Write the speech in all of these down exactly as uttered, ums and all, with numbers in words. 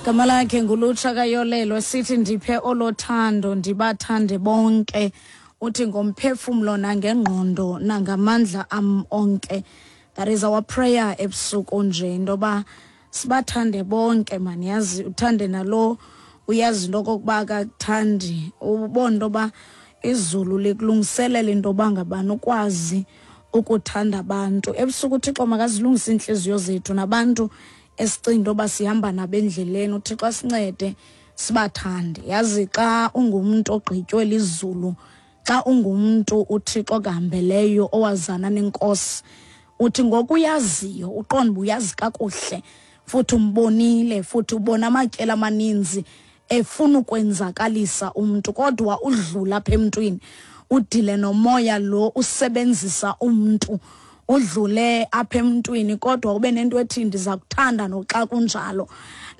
Gama lakhe nguLutsha Kayolelo, sithi ndiphe olothando, ndibathande bonke, uthi ngomphefumlo nangengqondo nangamandla am onke. That is our prayer ebusuku nje, into yoba sibathande bonke mani. Yazi uthande nalo uyazi into okokuba akakuthandi, ubone into yoba izulu likulungiselela into yoba ngabani ukwazi ukuthanda abantu. Ebusuku uThixo makazilungise iintliziyo zethu nabantu esicinga into yoba sihamba nabo endleleni. UThixo asincede sibathande. Yazi xa ungumntu ogqitywe lizulu, xa ungumntu uThixo okuhambeleyo owazana nenkosi, uthi ngokuyaziyo uqonda uba uyazi kakuhle, futhi umbonile, futhi ubona amatyeli amaninzi efuna ukwenzakalisa umntu, kodwa udlula apha emntwini, udile nomoya lo usebenzisa umntu, udlule apha emntwini, kodwa ube nento ethi ndiza kuthanda noxa kunjalo.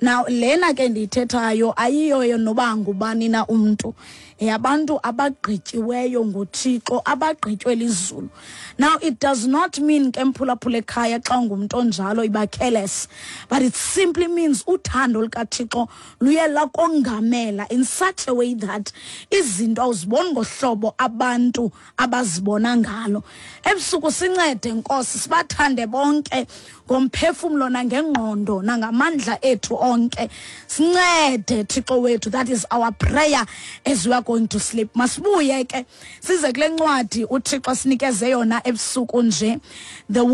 Now lena ke ndiyithethayo ayiyoyo noba ngubani na umntu, yabantu abagqityiweyo nguThixo, abagqitywe lizulu. Now it does not mean ke, mphulaphula ekhaya, xa ungumntu onjalo iba careless, but it simply means uthando lukaThixo luye lakongamela in such a way that izinto awuziboni ngohlobo abantu abazibona ngalo. Ebusuku sincede Nkosi, sibathande bonke ngomphefumlo nangengqondo nangamandla ethu onke. Sincede Thixo wethu. That is our prayer as we are going to sleep. Masibuye ke size kule ncwadi uThixo sinikeze yona ebusuku nje, the